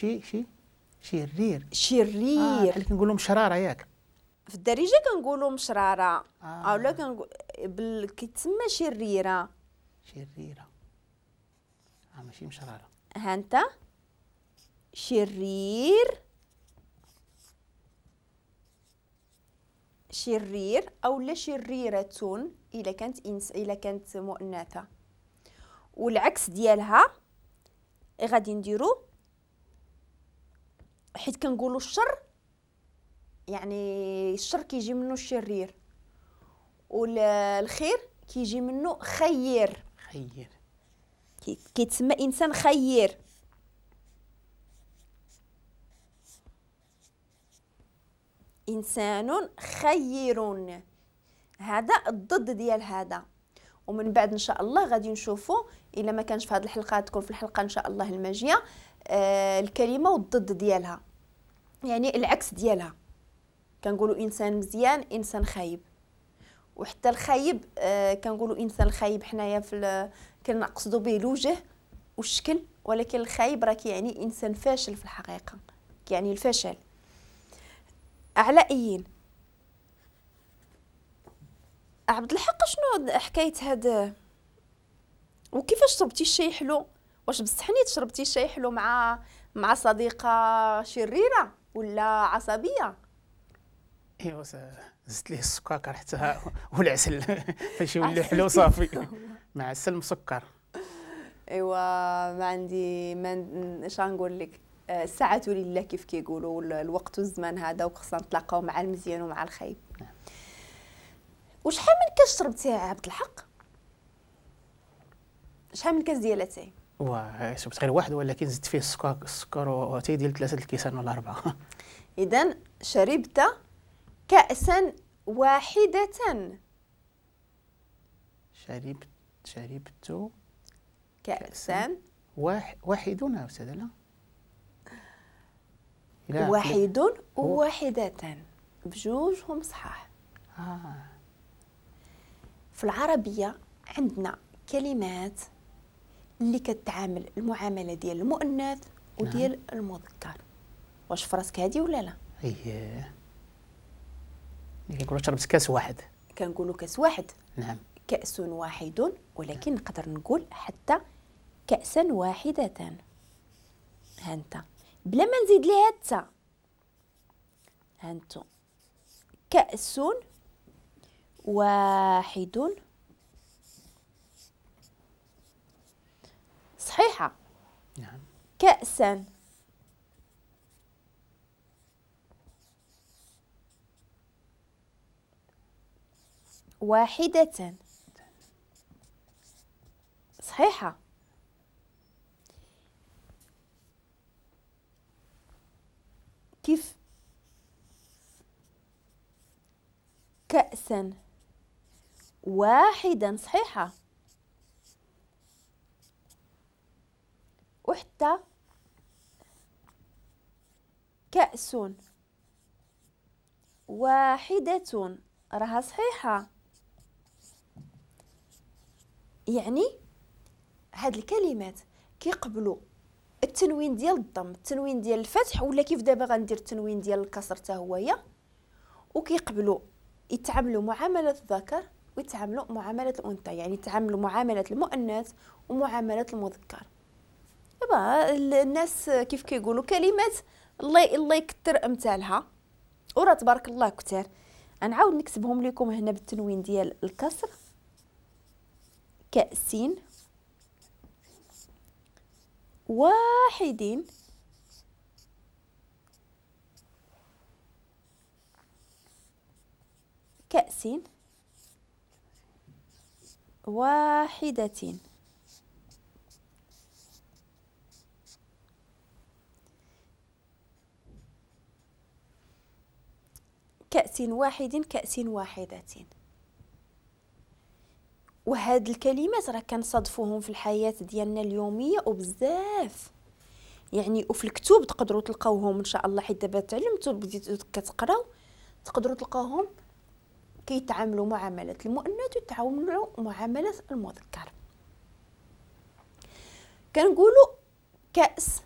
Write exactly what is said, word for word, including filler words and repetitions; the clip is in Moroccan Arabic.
شي شي شرير. شرير. آه بحال كنقولوا مشراره ياك؟ في الدارجة كنقولوا مشراره. آه. اولا كنقول بال... كيتسمى شريرة. شريرة اه ماشي مشراره. ها انت شرير، شرير اولا شريرة الا كانت انس الا كانت مؤنثة. والعكس ديالها غادي نديرو، حيت كنقولوا الشر، يعني الشر كيجي منه الشرير والخير كيجي منه خير. خير كيتسمى انسان خير. انسان خير، هذا الضد ديال هذا. ومن بعد ان شاء الله غادي نشوفوا الا ما كانش في هذه الحلقة تكون في الحلقة ان شاء الله الماجيه آه الكلمة والضد ديالها، يعني العكس ديالها. كنقولوا انسان مزيان، انسان خايب. وحتى الخايب آه كنقولوا انسان خايب حنايا في كنقصدوا به الوجه والشكل، ولكن الخايب راه كيعني انسان فاشل في الحقيقة، كيعني الفشل. على ايين عبد الحق، شنو حكاية هاد وكيفاش شربتي الشاي حلو؟ واش بصح نيت شربتي الشاي حلو مع مع صديقه شريرة ولا عصبية؟ ايوا زدت ليه السكر حتى والعسل فاش يولي حلو صافي، مع عسل مسكر. ايوا ما عندي ما اش غنقول لك، الساعة لله كيف كيقولوا، الوقت والزمان هذا، وخصنا نتلاقاو مع المزيان ومع الخايب. نعم. وشحال من كاس شربتي يا عبد الحق؟ شحال من كاس ديال اتاي؟ واه شربت غير واحد، ولكن زدت فيه السكر السكر واتاي ديال ثلاثة الكيسان ولا اربعة. اذا شربت كأسا واحدة. شربت شربت كأسا واحد واحد أستاذة. لا واحد وواحدة بجوجهم صحاح. آه. في العربية عندنا كلمات اللي كتعامل المعاملة ديال المؤنث وديال نعم. المذكر. واش فراسك هادي ولا لا؟ اييه، كنقولوا شربت كاس واحد، كنقولوا كاس واحد. نعم، كأس واحد، ولكن نعم. نقدر نقول حتى كأسا واحدة. ها انت بلا ما نزيد ليها التا، ها انتو كأس واحد صحيحة. نعم. كأسا واحدة صحيحة. كيف كأسا واحدا صحيحة. وحتى كأس واحدة راها صحيحة. يعني هاد الكلمات كيقبلوا التنوين ديال الضم، التنوين ديال الفتح، ولا كيف دابا غندير التنوين ديال الكسر حتى هويا، وكيقبلوا يتعاملوا معاملة الذكر ويتعاملوا معاملة الأنثى، يعني يتعاملوا معاملة المؤنث ومعاملة المذكر. دابا الناس كيف كيقولوا كلمات الله الله يكثر امثالها، وراه تبارك الله كثار. غنعاود نكتبهم لكم هنا بالتنوين ديال الكسر. كأسين واحدين كأس واحدة. كأس واحد، كأس واحدة. وهاد الكلمات راه كنصادفوهم في الحياة ديالنا اليومية وبزاف، يعني وفي الكتب تقدروا تلقاوهم ان شاء الله، حيت دابا تعلمتوا بديتوا كتقراو تقدروا تلقاوهم كيتعاملوا معاملة المؤنث ويتعاملوا معاملة المذكر. كنقولوا كأس